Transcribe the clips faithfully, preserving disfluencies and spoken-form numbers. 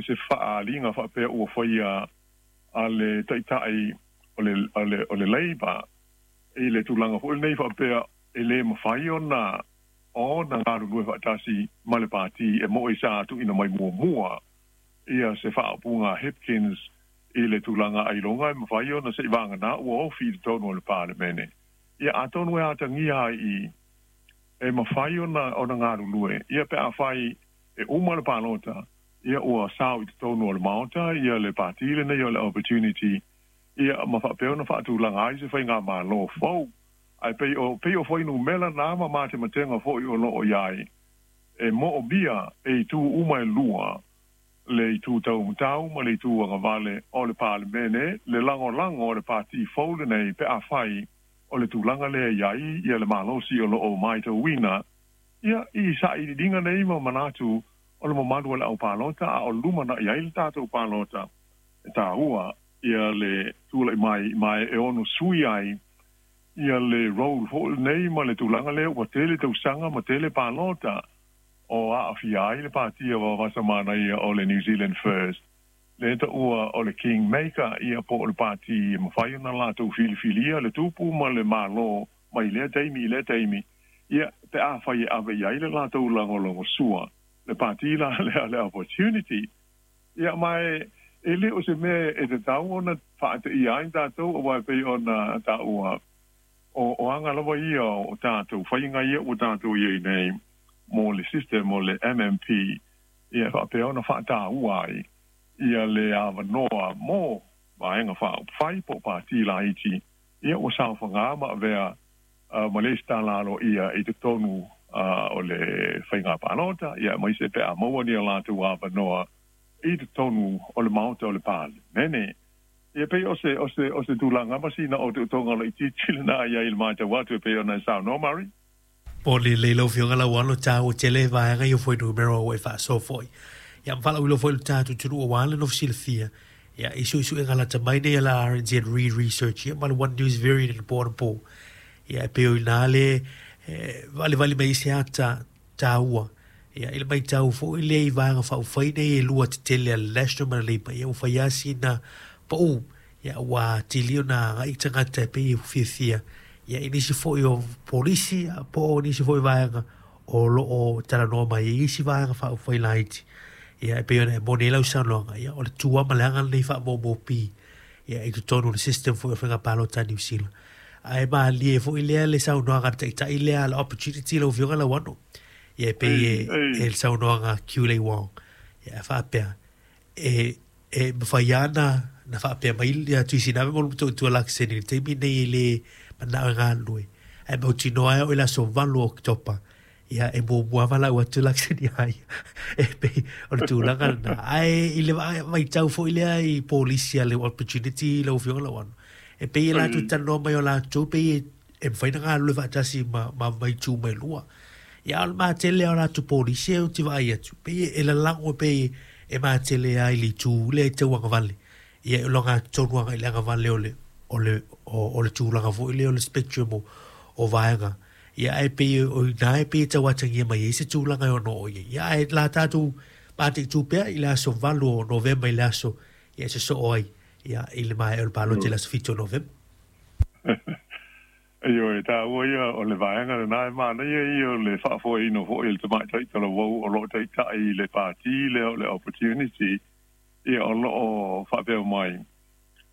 se faaaliga faapea ua faia a le taitai o le, o le, o le Labour i le tulaga foi lenei faapea e lē mafai ona ona galulue faatasi ma le pati e moʻi sa tuuina mai muamua ia se faaupuga Hipkins i le tulaga ailoga e mafai ona seʻi vagana ua ofi i totonu o le Palemene. Ia atonu e atagia ai i e mafai ona ona galulue ia pe afai e uma le palota ia ua sao i totonu o le Maota ia le pati lenei o le Opportunity ia ma faapea ona faatulaga ai se faigamālō fou. Ae pei o pei o fuainumera na ma matematega foʻi o loo iai e moomia e itu uma e lua, le itu taumatau ma le itu agavale o le Palemene, le lagolago o le pati fou lenei pe afai o le tulaga lea iai ia le malosi o loo matauina ia i sailiiliga nei ma manatu o le mamalu o le aupalota a o lumanaʻi ai le tatou palota e tāua ia le tulaʻi mai ma e ono sui ai ia le role foʻi nei ma le tulaga lea ua tele tausaga ma tele palota o aafia ai le patia vavasamanaia o le New Zealand First le taua o le Kingmaker ia po o le pati e mafai ona latou filifilia le tupu ma le mālō mai lea taimi i lea taimi ia pe afai e ave i ai le latou lagolagosua le pati la lea le Opportunity. Ia ma e e le o se mea e tatau ona faateia ai tatou auā e pei ona taua o o aga lava ia o tatou faiga ia ua tatou iai nei mo le system o le M M P ia faapea ona faataua ai ia le avanoa mo vaega faaupufai po o pati laiti ia ua saofagā ma avea uh, ma le isitala aloaia i totonu uh, o le faiga palota ia aemaise pe a maua ni a latou avanoa i totonu o le Maota o le Palemene. Ia pei o se o se o se tulaga ma sina o teutoga laitiiti lenā i ai i le matau atu e pei ona e saunoa Murray. Po le le lau Afioga Lauano tāua tele vaega ia fuainumera ua e faasoa foʻi. Ia ma faalauiloa foi le tatou atunuu auā le nofo silafia. Ia i suesuega lata mai nei a la R N Z Reid Research ia ma le One News Variant i le po anapo. Ia e pei o inā le valevale mai se ata tāua. Ia i le matau foʻi lea i vaega faaupufai nei e lua tetele a le National ma le Labour ia ua fai lava sina paū. Ia ua atili ona agai tagata e pei e fiafia. Ia i nisi foʻi o polisi po o nisi foʻi vaega o loo talanoa mai ai isi vaega faaupufai laiti. Ia e pei ona e moni ai lau saunoaga ia o le tua ma le aga lenei faamomopi ia i totonu o le system foʻi o faiga palota a Niu Sila. Ae malie foʻi lea le saunoaga a le taitai lea le Opportunity lau Afioga Lauano. Ia e pei e, e le saunoaga Kiu Wong. Ia faapea e e mafai ana na faapea mai ia Tuisinave mo le tua lakiseni le taimi nei e le manao e galulue. Ae mautinoa e oo i le aso valu o Oketopa. Ia e muamua valaau atu lakiseni ai. E pei o le tulaga lena. Ae i le vaitau foʻi lea i polisi a le Opportunity lau Afioga Lauano. E pei e latou talanoa mai o latou pei e e mafai ona galulue faatasi ma ma maitu mai lua. Ia o le matele o latou polisi e ou te vaai atu. Pei e lalago pei e matele ai le itu lea e tau agavale. Ia e loga tonu agai le agavale o le o le o, o le tulaga foʻi lea o le spectrum o, o vaega. Ia ae pei o ina e pei e tau atagia mai ai se tulaga e ono o iai. Ia ae la tatou mataitu pea i le aso valu o Novema i le aso ia se soo ai ia i le maea o le palota i le aso fitu o Novema. Ioe, tāua ia o le vaega lenā e manaia ia o le faafoeina foʻi e le tamaitai talavou o loo taitaʻi i le pati lea o le Opportunity ia o loo faapea mai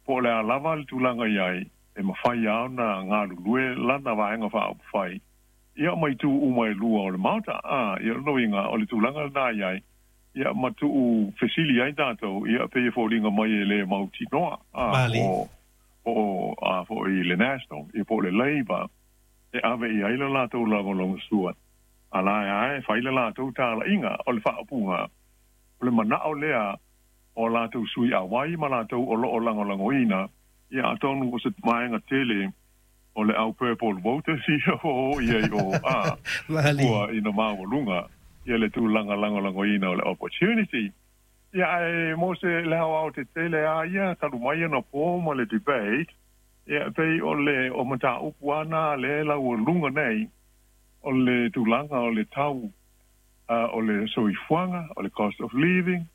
po o le a lava le tulaga iai e mafai a ona galulue lana vaega faaupufai ia ma itu uma e lua o le Maota a ia o loiga o le tulaga lenā iai ia ma tuu fesili ai tatou ia pei e foliga mai e lē mautinoa a Mali. o po a foʻi le National ia po o le Labour e ave i ai le latou lagolagosua a la e ae fai le latou talaiga o le faaupuga o le manao lea o latou sui auai ma latou o loo lagolagoina ia atonu o se vaega tele o le au purple voters ia o ia i o a Mali. ua ina maualuga ia le tulaga lagolagoina o le Opportunity. Ia ae mo se le aoao tetele a ia talu mai ona po ma le debate ia pei o le o mataupu ana le laualuga nei o le tulaga o le tau uh, o le soifuaga o le cost of living.